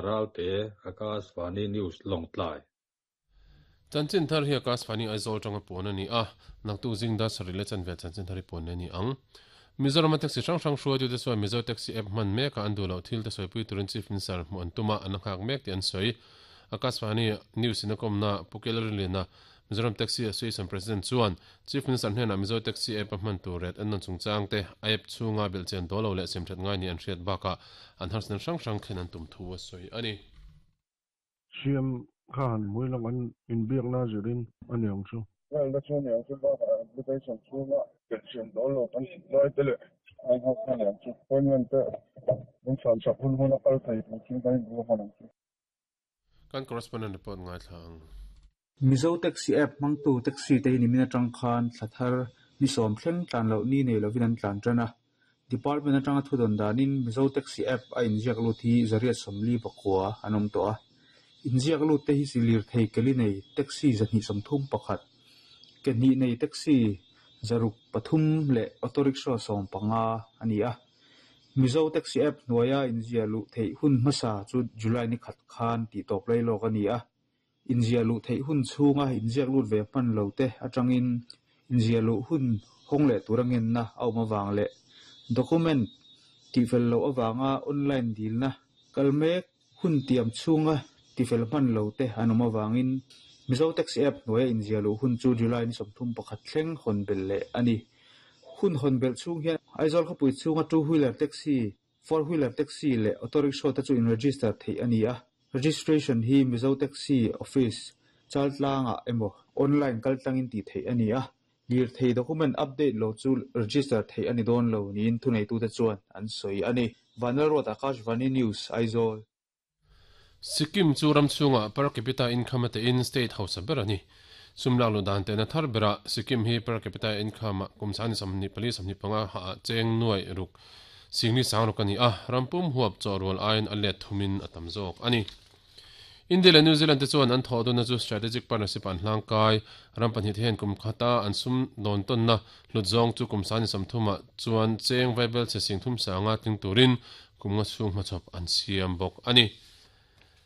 Ralte, Akashvani News, Lawngtlai. Chanchin thar hi Akashvani Aizawl atanga puan a ni a, naktuk zing dar sarih leh chanve chanchin thar hi puan leh a ni ang. Mizorama taxi hrang hrang hruaitute chuan Mizo Taxi App hman mekah an duh loh thil te sawipui turin Chief Minister hmuh an tum a, an la nghak mek tih an sawi. Akashvani News in a kawmna Pu Kelrinliana, Mizoram Taxi Association President chuan Chief Minister hnenah Mizo Taxi App a hman tur ret an nawn chungchang te, a app chhunga belhchian dawl lo leh siamthat ngai nih an hriat bakah an harsatna hrang hrang thlen an tum thu a sawi a ni. Siam kha han hmui lang an inbiakna zirin a ni ang chu. Lalna chu a ni ang chu bakah application chhunga belhchian dawl lo kan tih lai te leh a inhawk kha a ni ang chu. Appointment te min chhanchak hun hun a kal thei tur chu kan inbu hman ang chu. Kan correspondent report ngaithla ang. Mizo Taxi App hmangtu taxi te hi nimin atang khan thla thar ni sawm thleng tlan loh ni nei lovin an tlan tan a. Department atanga thudawn danin Mizo Taxi App a inziak lut hi zariat sawmli pakua an awm tawh a. Inziak lut te hi lirthei keli nei taxi 231, ke hnih nei taxi 603 leh auto rickshaw 15 a ni a. Mizo Taxi App hnuaia inziah luh theih hun hmasa chu July ni khat khan tihtawp lai lawk a ni a. Inziah luh theih hun chhunga inziak lut ve hman lo te atangin inziah luh hun hawng leh tura ngenna a awm avang leh document tihfel loh avanga online dilna kal mek hun tiam chhunga tifel hman lo te an awm avangin Mizo Taxi App hnuaia inziah luh hun chu July ni 31 thleng hawn belh leh a ni. Hun hawn belh chhung hian Aizawl khawpui chhunga two wheeler taxi, four wheeler taxi leh auto rickshaw te chu in register theih a ni a. Registration hi Mizo Taxi Office Chaltlangah emaw online kaltlangin tih theih a ni a. Lirthei document update lo chu register theih a ni dawn lo niin thuneitute chuan an sawi a ni. Vanlalruat Akashvani News, Aizawl. Sikkim chu ram chhungah per capita income a tein state hausa ber a ni. Sum lak luh dan tehna thar berah Sikkim hi per capita income ah kum 24 25 hah ah cheng nuaih ruk singli sang ruk a ni a, ram pum huap chaw rual aiin a let thumin a tam zawk a ni. India leh New Zealand te chuan an thawh dunna chu strategic partnership ah an hlangkai. Ram pahnih te hian kum khata an sum dawn tawnna hlut zawng chu kum 30 ah chuan cheng vaibel chhe sing thum sanga tling turin kum nga chhung hmachhawp an siam bawk a ni.